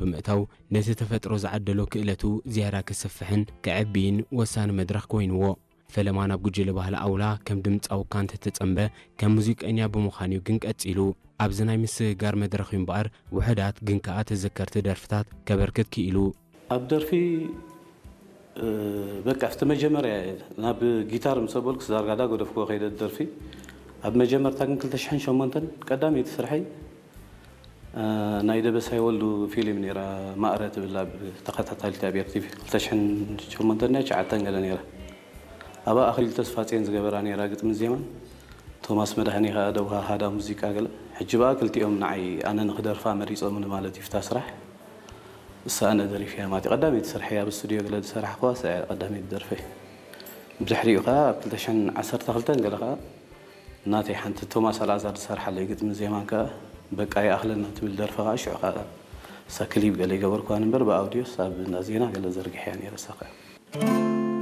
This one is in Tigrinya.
ብምእታው ነቲ ተፈጥሮ ዝዓደሎ ክእለቱ ዝያዳ ክስፍሕን ክዕብይን ወሳኒ መድረኽ ኮይንዎ። ፈለማ ናብ ጉጅለ ባህሊ ኣውላ ከም ድምፃዊ እኳ እንተተጸንበ፣ ከም ሙዚቀኛ ብምዃን እዩ ግን ቀጺሉ። ኣብዚ ናይ ምስግጋር መድረኽ እዩ እምበኣር ውሑዳት ግን ከኣ ተዘከርቲ ደርፍታት ከበርክት ክኢሉ። ኣብ ደርፊ በቃ ኣብቲ መጀመርያ ናብ ጊታር ምስ ኣበልኩስ ዳርጋ ዳጎደፍክዎ ከይደ ደርፊ። ኣብ መጀመርታ ግን ክልተ ሽሕን ሸሞንተን ቀዳመይቲ ስርሐይ ናይ ደበሳይ ወልዱ ፊልም ነይራ፣ ማእረ ትብል ኣብ ተኸታታሊት ኣብ ኤርቲቪ ክልተ ሽሕን ሸሞንተን ናይ ትሽዓተን ገለ ነይራ። ኣብኣ ኣኽሊሉ ተስፋጽዮን ዝገበራ ነይራ ግጥሚ ዜማን፣ ቶማስ መድሃኔ ከኣ ደውሃሃዳ ሙዚቃ ገለ። ሕጂ በኣ ክልቲኦም ንዓይ ኣነ ንኽደርፋ መሪጾምኒ ማለት እዩ ፍታ ስራሕ። እሳ ኣነ ደሪፍያ ማለት እዩ። ቀዳመይቲ ስርሐይ ኣብ ስቱድዮ ገለ ዝሰራሕክዋ እሳ እያ ቀዳመይቲ ደርፈይ። ብድሕሪኡ ከኣ ኣብ ክልተ ሽሕን ዓሰርተ ክልተን ገለ ከኣ ናተይ ሓንቲ ቶማስ ኣልኣዛር ዝሰርሓለይ ግጥሚ ዜማን ከኣ በቃ ይኣኽለና ትብል ደርፊ ከኣ ሽዑ ከኣ እሳ ክሊፕ ገለ ይገበርክዋን እምበር ብኣውድዮስ ኣብ እንዳ ዜና ገለ ዘርጊሐያ ነይረ እሳ ከኣ።